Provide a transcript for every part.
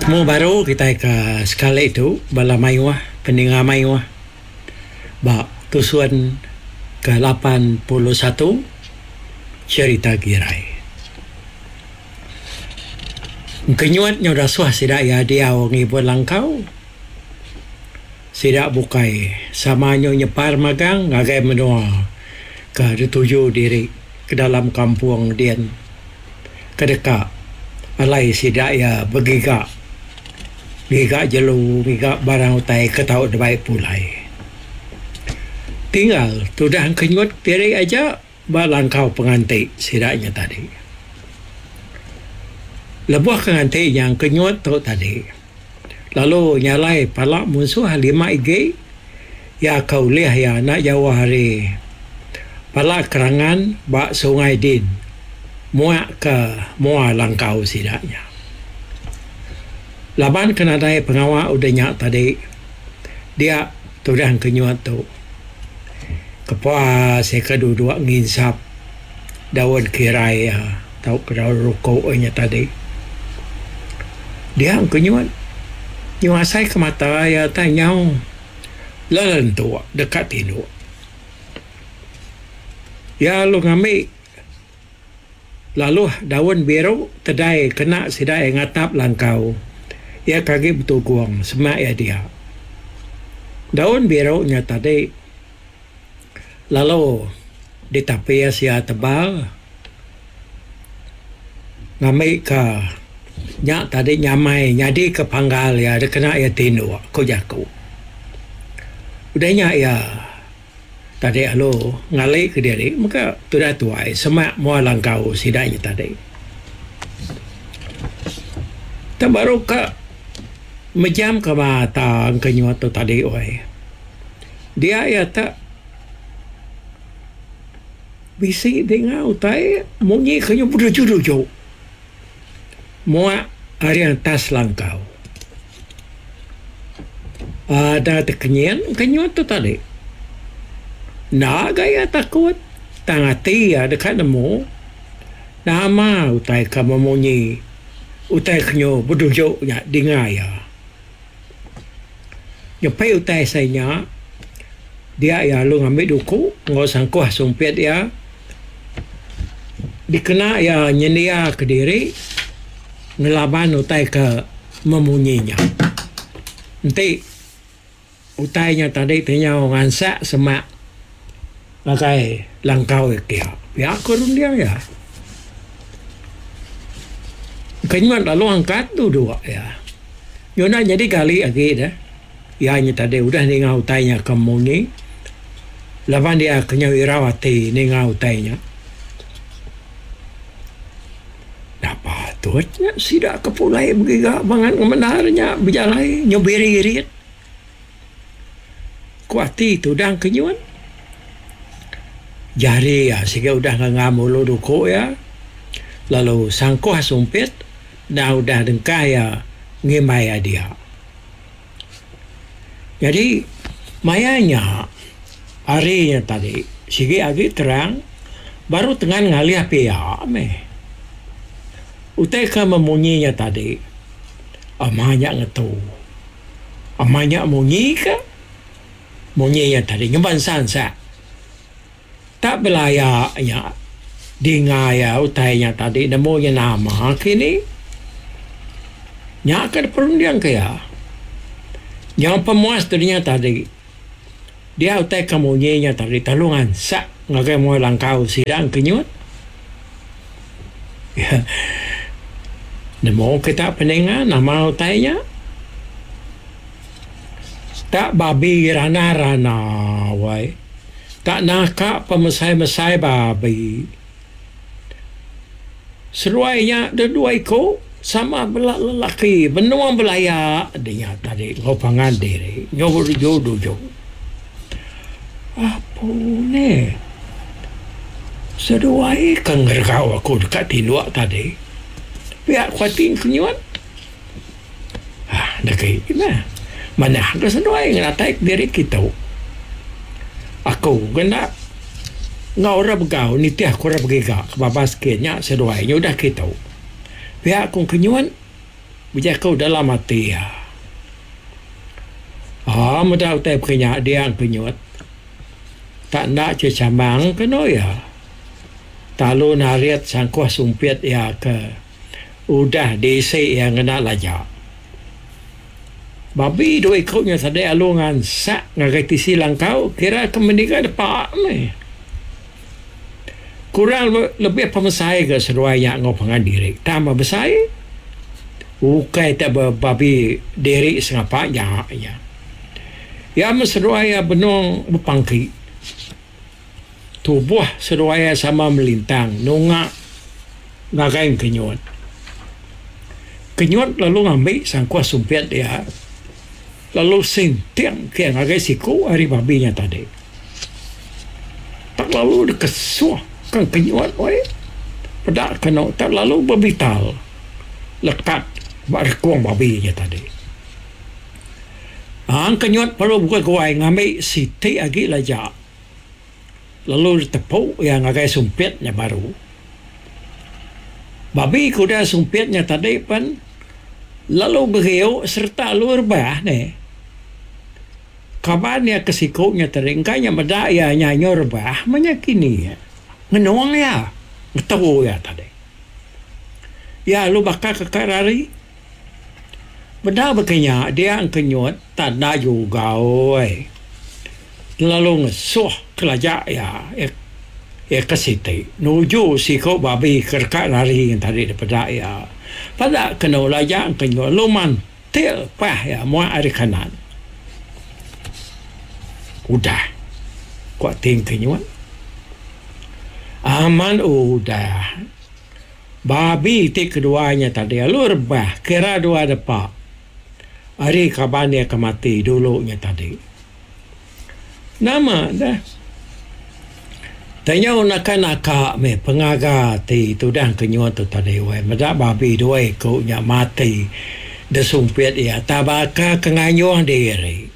Betemu baru kitai ke sekali tu bala mayuh peninga mayuh ba tusun ke 81 Cherita Girai. Engkenyut nyau dasuh sida iya diau ngibun langkau. Sida bukai sama nyu nyepar magang ngagai menua ke dituju diri ke dalam kampung din ke deka alai sida iya begiga ngiga jelu ngiga barang utai ke tau dibai pulai. Tinggal tudah engkenyut diri aja. Ba langkau penganti sida nya tadi. Lebuh ke nganti nya engkenyut tu tadi lalu nyalai pala munsuh lima igi iya ke ulih iya enda jauh ari pala kerangan ba sungai din muak ke mua langkau sida nya. Laban ke nadai pengawa udah nya tadi dia tudah engkenyut tu. Kepuas iya ke duduk nginsap daun kirai iya tauka daun rukuk iya nya tadi. Dia engku nyut nyu asai ke mata iya tai nyau lelentuk deka tinduk. Iya lalu ngambi laluh daun biru tedai kena sida iya ngatap langkau iya ke agi betugung semak iya dia. Daun biru nya tadi lalu ditapis iya tebal ngambika nya tadi nyamai nyadika panggal iya dikena iya tinduk, ku jaku. Udah nya iya. Tadi alu ngali kediri mega tudah tuai semak mua langkau sida nya tadi. Tang baru ka mejam ka mata engka nyuat tu tadi wai. Dia iya te bisi dinga utai munyi ke nyu beduju-duju muak ari atas langkau. Ada tekenyit kenyut tu tadi. Enda ga iya takut tang ati iya deka nemu nama utai ke memunyi utai ke nyu beduju nya dinga iya. Nyepi utai sai nya dia iya lalu ngambi duku enggau sangkuh sumpit iya dikena iya nyendia kediri ngelaban utai ke memunyi nya. Enti utai nya tadi ti nyau ngansak semak ngagai langkau iya kia. Pia ku runding iya. Kenyut lalu angkat duduk iya. Nyau enda nyadi gali agi deh. Iya nya tadi udah ninga utai nya ke munyi laban iya ke nyau irau ati ninga utai nya. Enda patut nya sida ke pulai begiga bangat ngemendar nya bejalai nyau biri-irit. Ku ati tudang ke nyun. Jari iya siga udah ngangam ulu duku iya lalu sangkuh sumpit enda udah dengkah iya ngimbai iya dia. Nyadi maya nya hari nya tadi sigi agi terang baru tengan ngalih pia meh. Utai ke memunyi nya tadi ama nya ngetu. Ama nya munyi ka munyi nya tadi ngemba ansa-ansa. Tak belaya nya dinga iya utai nya tadi nemu nya nama kini. Nya ke diperunding ke iya. Nyau pemuas dunya tadi dia utai ke munyi nya tadi telu ngansak ngagai mua langkau sida engkenyut. Nemu kita peninga nama utai nya. Tak babi rana-rana wai. Tak naka pemesai-mesai babi. Seduai nya dedua iku sama bela lelaki benung belaya dinya tadi enggau pangan diri nyau duju-duju. Apu neh. Seduai ke ngeregau aku deka tinduk tadi. Pia ku ati Kenyut. Hah degi meh. Manah ga seduai ngenatai kediri kitu. Aku ga enda enggau orang begau nitih ku orang begiga ke babas kin nya seduai nya udah kitu. Pia ku Kenyut. Bejaku dalam ati iya. Aa meda utai baka nya dia engkenyut. Tak enda chechamang kenu iya. Talu narit sangkuh sumpit iya ke udah diisi iya ngena laja. Babi dua iku nya tadi alu ngansak ngagai tisi langkau kira ke meniga depa meh. Kurang lebih pemesai ga seduai nya enggau pangan diri tang ba besai ukai te babi diri sengapa nya nya. Iya meh seduai iya benung bepangki. Tubuh seduai iya sama melintang nunga ngagai Kenyut. Kenyut lalu ngambi sangkuh sumpit iya lalu sinting ke ngagai siku ari babi nya tadi. Tak lalu dikesuh ka Kenyut weh peda kenu tak lalu bebital lekat ba rekung babi nya tadi. Ang Kenyut perlu beguai-guai ngambi siti agi laja lalu ditepu iya ngagai sumpit nya baru. Babi ke udah sumpit nya tadi pen lalu beriu sereta lalu rebah neh. Kaban iya ke siku nya tadi engka nya meda iya nya nyau rebah meh nya kini ngenung iya ngetu iya tadi. Iya lalu baka ke ka rari. Meda baka nya dia engkenyut tanda juga oi. Lalu ngesuh kelaja iya iya ke siti nuju siku babi ke deka rari tadi dipeda iya. Peda kenu laja engkenyut lalu mantil pah iya muak ari kanan. Udah, ku ati engkenyut. Amat udah. Babi ti kedua nya tadi lalu rebah kira dua depa ari kaban iya ke mati dulu nya tadi. Nama deh. Tanyau naka naka meh pengaga ti tudah kenyut tu tadi weh meda babi dua iku nya mati desumpit iya tabaka ke ngayuh diri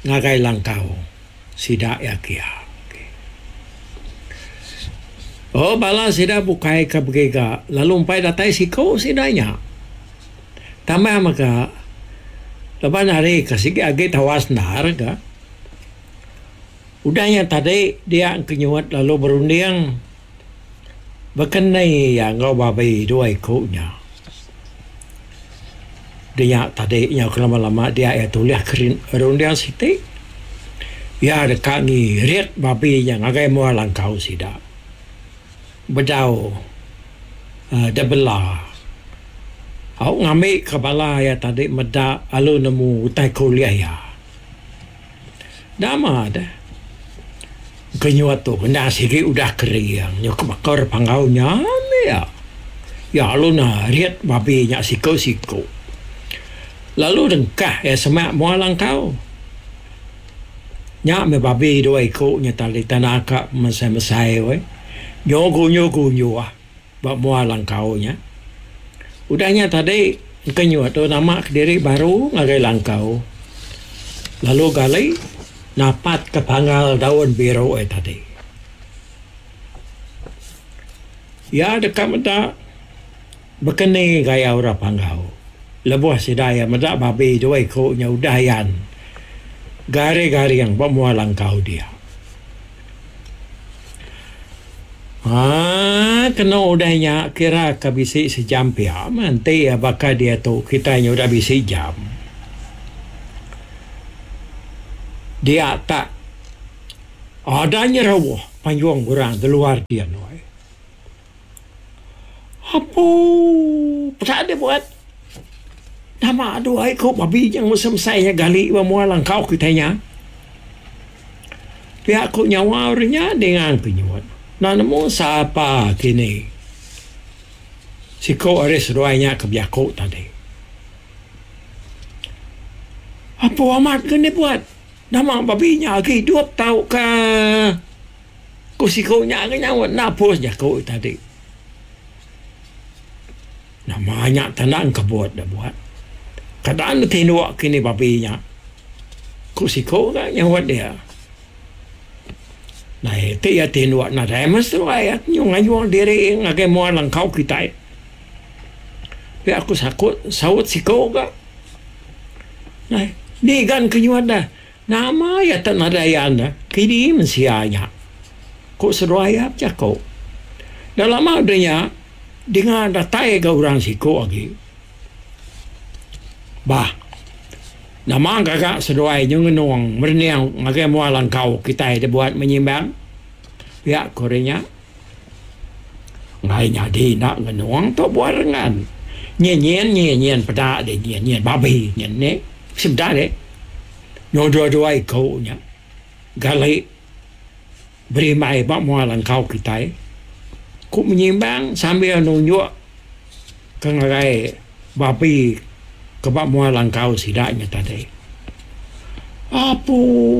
ngagai langkau. Sida iya kia. Oh bala sida bukai ke begiga lalu empai datai siku sida nya. Tambah mega laban hari ke sigi agi tawas endar ga. Udah nya tadi dia engkenyut lalu berunding bekeni iya enggau babi dua iku nya. Dinya tadi nyau ke lama-lama dia iya tulih ke runding siti. Iya deka ngirit babi nya ngagai mua langkau sida. Bedau uhh debela. Au ngambi ke bala iya tadi meda lalu nemu utai ke ulih iya. Nama deh. Kenyut tu kena sigi udah kering nyau ke baka re panggau nya meh iya. Iya lalu narit babi nya siku-siku. Lalu dengkah iya semak mua langkau. Nya meh babi dua iku nya tali tanah ka mesai-mesai weh. Nyau gunyu-gunyu ba mua langkau nya. Udah nya tadi engkenyut tu nama kediri baru ngagai langkau lalu gali napat ke panggal daun biru ai tadi. Iya deka meda bekeni gaya orang panggau lebuh sida iya meda babi dua iku nya udah ayan garing-garing ba mua langkau dia. Haa kenu udah nya kira ka bisi sejam pia meh enti iya baka diatu kitai nya udah bisi jam. Dia tak ada nyeruh panjung orang di luar din weh. Apoo peda deh buat nama dua iku babi nya mesai mesai nya gali ba mua langkau kitai nya. Pia ku nyawa orang nya dinga kenyut. Enda nemu sapa kini. Siku ari seduai nya ke bejaku tadi. Apo amat ke dibuat nama babi nya agi idup tauka ku siku nya ke nyaut enda pus jaku tadi. Nama nya tanda engkebut da buat. Kada ne tinduk kini babi nya. Ku siku ga nyaut dia. Nai ti iya tinduk nadai meh seduai iya nyu ngayung diri ngagai mua langkau kitai. Pia aku sakut saut siko ga. Nai, ni gan ke nyuat dah. Nama iya tak nadai ayan dah. Kini mensia nya. Ku seduai iya bejaku. Enda lama udah nya, dinga datai ga orang siku agi. Bah, nama gaga seduai nyu ngenung merening ngagai mua langkau kitai dibuat menyimbang? Pia ku ari nya. Enggai nyadi enda ngenung tu buah rengan. Nyin nyin nyin nyin peda deh nyin nyin babi nyin ni. Bisi meda deh. Nyu dua-dua iku nya gali berimbai ba mua langkau kitai. Ku menyimbang sambil nunjuk ke ngagai babi ke ba mua langkau sida nya tadi. Apu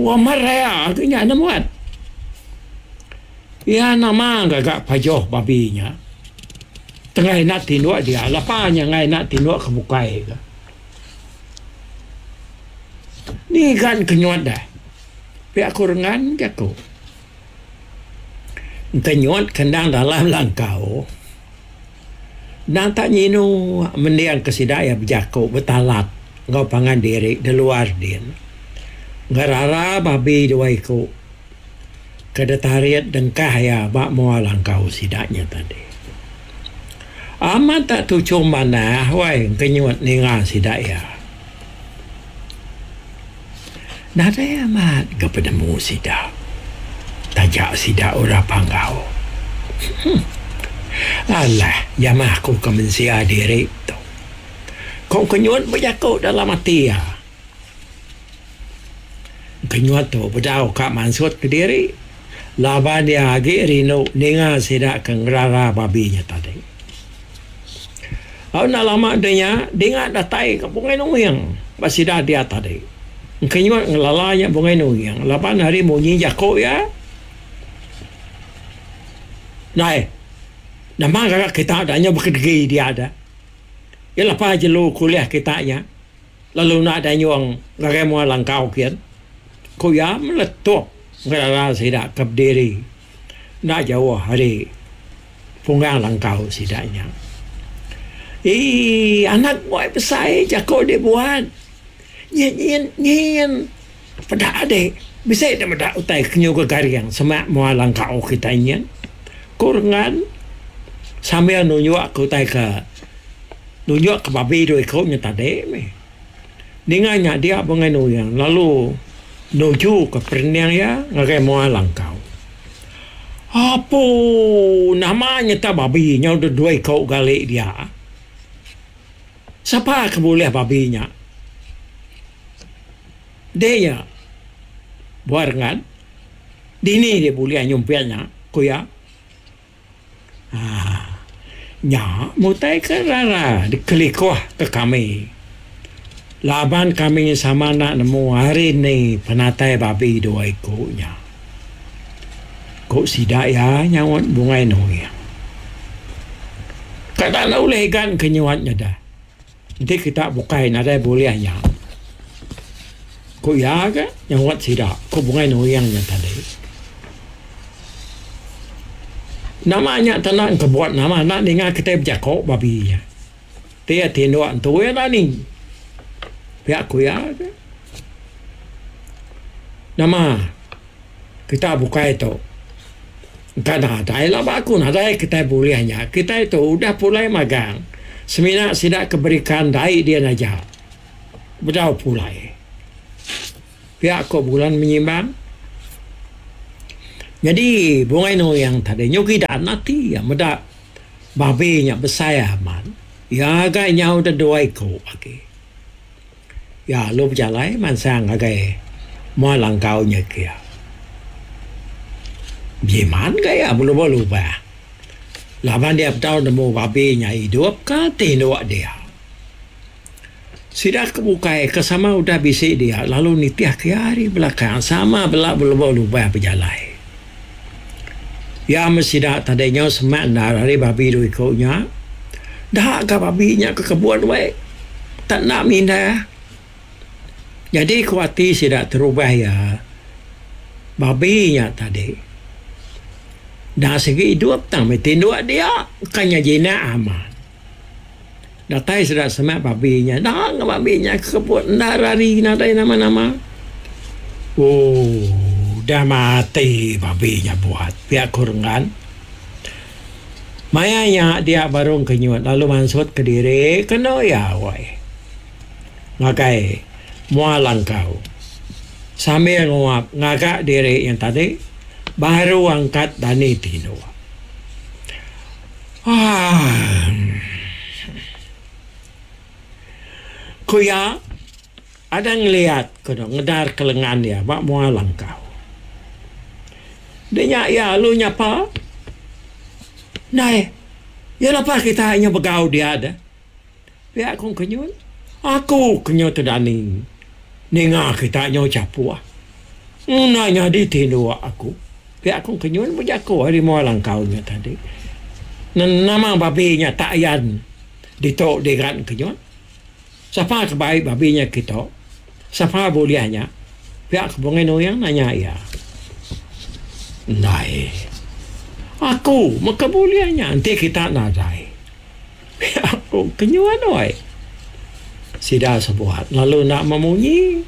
amat raya ke nya enda muat. Iya nama gaga pajoh babi nya. Tengah enda tinduk dia lapa nya enggai enda tinduk ke bukai ka. Ni gan ke nyuat deh. Pia ku rengan jaku. Enti nyuat ke endang dalam langkau endang tak nyinu mending ke sida iya bejaku betalat enggau pangan diri da luar din. Ngerara babi dua iku ke ditarit dengkah iya ba mua langkau sida nya tadi. Amat tak tuchum manah wai engkenyut ninga sida iya. Nadai amat ga penemu sida taja sida orang Panggau. Alah jamah aku ke mensia diri tu. Ko Kenyut bejaku dalam ati iya. Kenyut tu bedau ka mansut kediri laban iya agi rindu ninga sida ke ngerara babi nya tadi. Au enda lama deh nya dinga datai ka Bungai Nuing ba sida dia tadi. Engkenyut ngelala nya Bungai Nuing laban ari munyi jaku iya. Ndai nama gaga kita da nyau bekedegi dia da. Iya lepa jelu kulih kita nya lalu enda danyung ngagai mua langkau kin. Ku iya meletup ngelala sida ke bediri. Enda jauh ari punggang langkau sida nya. Ii anak buai besai jaku dibuat. Nyin nyin nyin peda adi bisi ne meda utai ke nyuga garing semak mua langkau kitai nyin. Ku Rengan sambil nunjuk ke utai ke nunjuk ke babi dua iku nya tadi mih. Ninga nya dia Bungai Nuing lalu nuju ke perening iya ngagai mua langkau. Apu nama nyeta babi nyau deh dua iko gali dia. Sapa ke bulih babi nya? Deh nya Buah Rengan. Dini dia bulih nyumpit nya, ku iya. Haa. Nya mutai ke rara dikelikuh ke kami. Laban kami sama enda nemu hari ni penatai babi dua iku nya. Ku sida iya nyaut Bungai Nuing. Kada enda ulih igan ke nyuat nya dah. Enti kita bukai nadai bulih nya. Ku iya ga nyaut sida, ku Bungai Nuing nya tadi. Nama nya tanda engkebut nama enda ninga kitai bejako babi nya. Ti iya tinduk entu iya dani. Pia ku iya ga. Nama kita bukai tu engka nadai laba aku nadai kitai bulih nya. Kitai tu udah pulai magang semina sida ke berikan dai din aja bedau pulai. Pia ko bulan menyimbang. Nyadi Bungai Nuing tadi nyu gidan ati iya meda babi nya besai amat. Iya ga nyau da dua iku agi. Iya lalu bejalai mansang ngagai mua langkau nya kia. Bejimat ga iya belubah-lubah laban iya bedau nemu babi nya idup ka tinduk dia. Sida ke bukai ke sama udah bisi dia lalu nitihka iya ari belakang sama bela belubah-lubah bejalai. Iya meh sida tadi nyau semak endar ari babi dua iku nya. Da ga babi nya ke kebun weh. Tak enda mindah. Nyadi ku ati sida terubah iya, babi nya tadi enda sigi idup tang meh tinduk dia ka nya jinak amat. Datai sida semak babi nya, enda ga babi nya kekeput enda rari nadai nama-nama. Ooh udah mati babi nya buat, pia ku Renggan. Maya nya dia baru Engkenyut lalu mansut kediri kenu iya wai ngagai mua langkau sambil nguap ngaga diri nya tadi baru angkat dani tinduk. Aaa. Ku iya, ada ngeliat ku ne ngedar ke lengan iya ba mua langkau. Deh nya iya lalu nyapa, Ndai, iya lepas kita inya begau dia deh. Pia ku Kenyun, Aku ke nyu tedani ninga kita nyu chapuh. Enda nyadi tinduk aku. Pia ku Kenyun bejaku ari mua langkau nya tadi. Nama babi nya tak ayan ditu digan Kenyun. Sapa ke bai babi nya kitu? Sapa bulih nya? Pia ku Bungai Nuing nanya iya. Ndai. Aku meka bulih nya enti kita nadai. Pia ku Kenyuan wai. Sida sebuat lalu enda memunyi.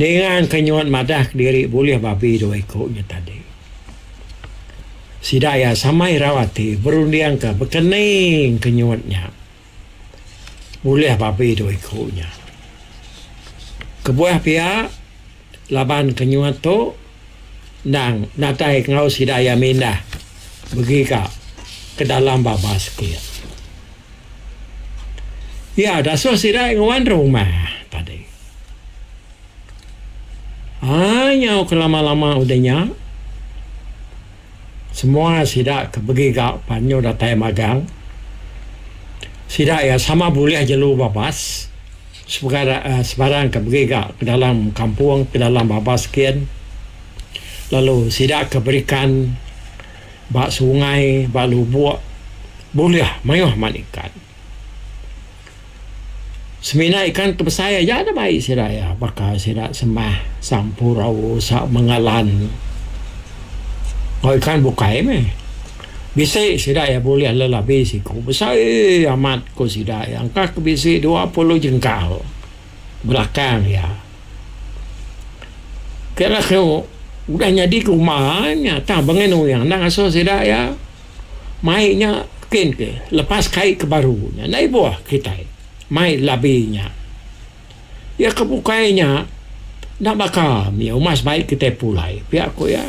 Ninga Kenyuan madah kediri bulih babi dua iku nya tadi. Sida iya sama irau ati berundingka bekening Kenyut nya bulih babi dua iku nya. Kebuah pia laban Kenyut tu endang nadai enggau sida iya mindah begiga ke dalam babas kin. Iya dasuh sida nguan rumah tadi. Ai nyau ke lama-lama udah nya semua sida ke begiga pan nyu datai magang. Sida iya sama bulih jelu babas sebarang ke begiga ke dalam kampung ke dalam babas kin lalu sida ke berikan ba sungai ba lubok bulih mayuh amat ikan. Semina ikan ke besai aja da bai sida iya baka sida semah sampurau sa mengalan enggau ikan bukai meh. Bisi sida iya bulih lelabi siku besai amat ku sida iya engka ke bisi 20 jengkal belakang iya. Kira ke udah nyadi kuma nya tang bengin uyang enda ngasuh sida iya. Mai nya kin ke lepas kai ke baru nya enda ibuh kitai mai labi nya. Iya ke bukai nya enda baka mih umas bai kitai pulai pia ku iya.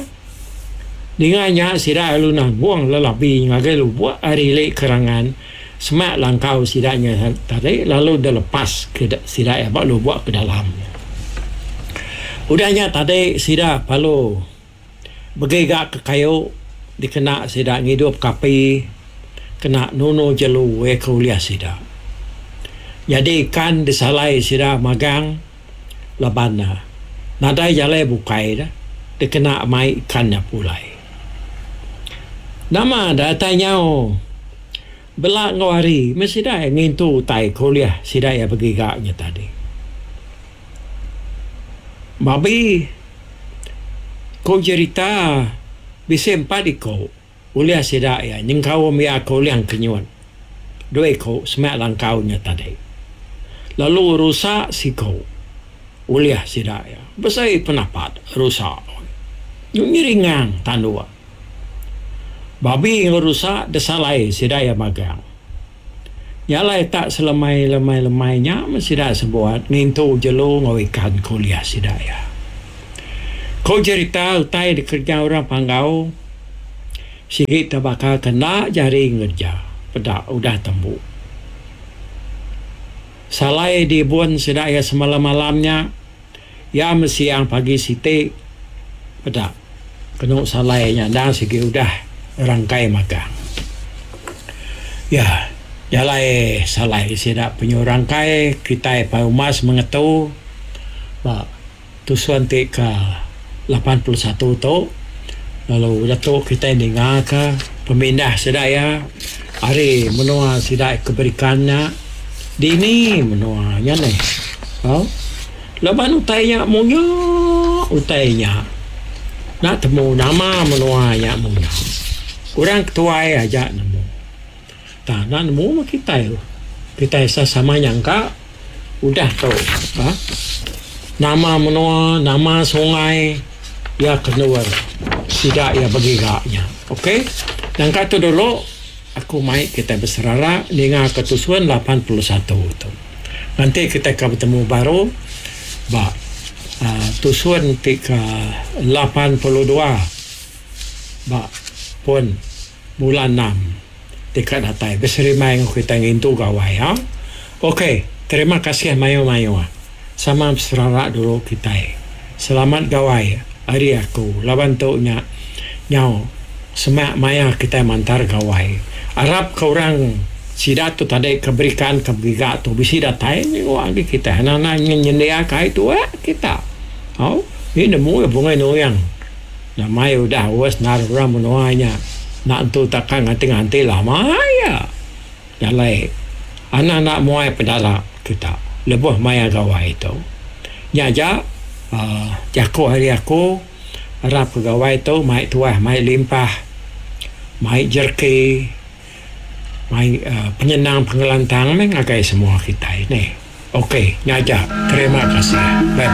Ninga nya sida lalu nanggung lelabi ngagai lubok ari ili kerangan semak langkau sida nya tadi lalu dilepas ke sida iya ba lubok ke dalam. Udah nya tadi sida lalu. Begiga ke kayu dikena sida ngidup ke api kena nunu jelu iya ke ulih sida. Nyadi ikan disalai sida magang laban ne nadai jalai bukai ne dikena mai ikan nya pulai. Nama datai nyau bela enggau hari meh sida iya ngintu utai ke ulih sida iya begiga nya tadi. Babi. Ku jerita, bisi empat iku ulih sida iya nyengkaum iya ke ulih engkenyut dua iku semak langkau nya tadi. Lalu rusa siku ulih sida iya besai penapat rusa nyu nyiringang tanduk. Babi enggau rusa desalai sida iya magang. Nya alai tak selemai lemai lemai nya meh sida sebuat ngintu jelu enggau ikan ke ulih sida iya. Ko jerita utai dikereja orang Panggau sigi tebaka ke enda jari ngereja peda udah tembu. Salai diibun sida iya semalam-malam nya iya meh siang pagi siti peda kenu salai nya endang sigi udah rangkai magang. Iya jalai salai sida penyu rangkai kitai pai umas mengetu ba tusun ti ke 81 tu lalu udah tu kitai ninga ka pemindah sida iya ari menua sida ke berikan nya dini menua nya neh. Au laban utai nya munya utai nya enda temu nama menua nya munya. Orang ketuai aja nemu. Tang enda nemu meh kitai. Kitai sesama nyangka udah tu uhh nama menua nama sungai iya ke endur sida iya begiga nya. Ok nyangka tu dulu aku mai kitai beserara ninga ke tusun 81 tu. Nganti kitai ka betemu baru ba uhh tusun ti ke 82 ba pun bulan enam ti ka datai beserimbai enggau kitai ngintu gawai ha. Ok terima kasih mayuh mayuh sama beserara dulu kitai. Selamat gawai ari aku laban tu nya nyau semak maya kitai mantar gawai. Arap ka orang sida tu tadi ke berikan ke begiga tu bisi datai minggu agi kitai anang anang nyendia ka ai tuak kita. Au ngi nemu bungai nuyang. Nyamai udah aus endar orang menua nya enda entu taka nganti-nganti lama iya. Jalai anang enda muai pedara kita lebuh maya gawai tu. Nya aja uhh jaku ari aku arap ke gawai tu mai tuah mai limpah mai jereki mai uhh penyenang pengelantang meh ngagai semua kitai neh. Ok nya aja terima kasih bye bye.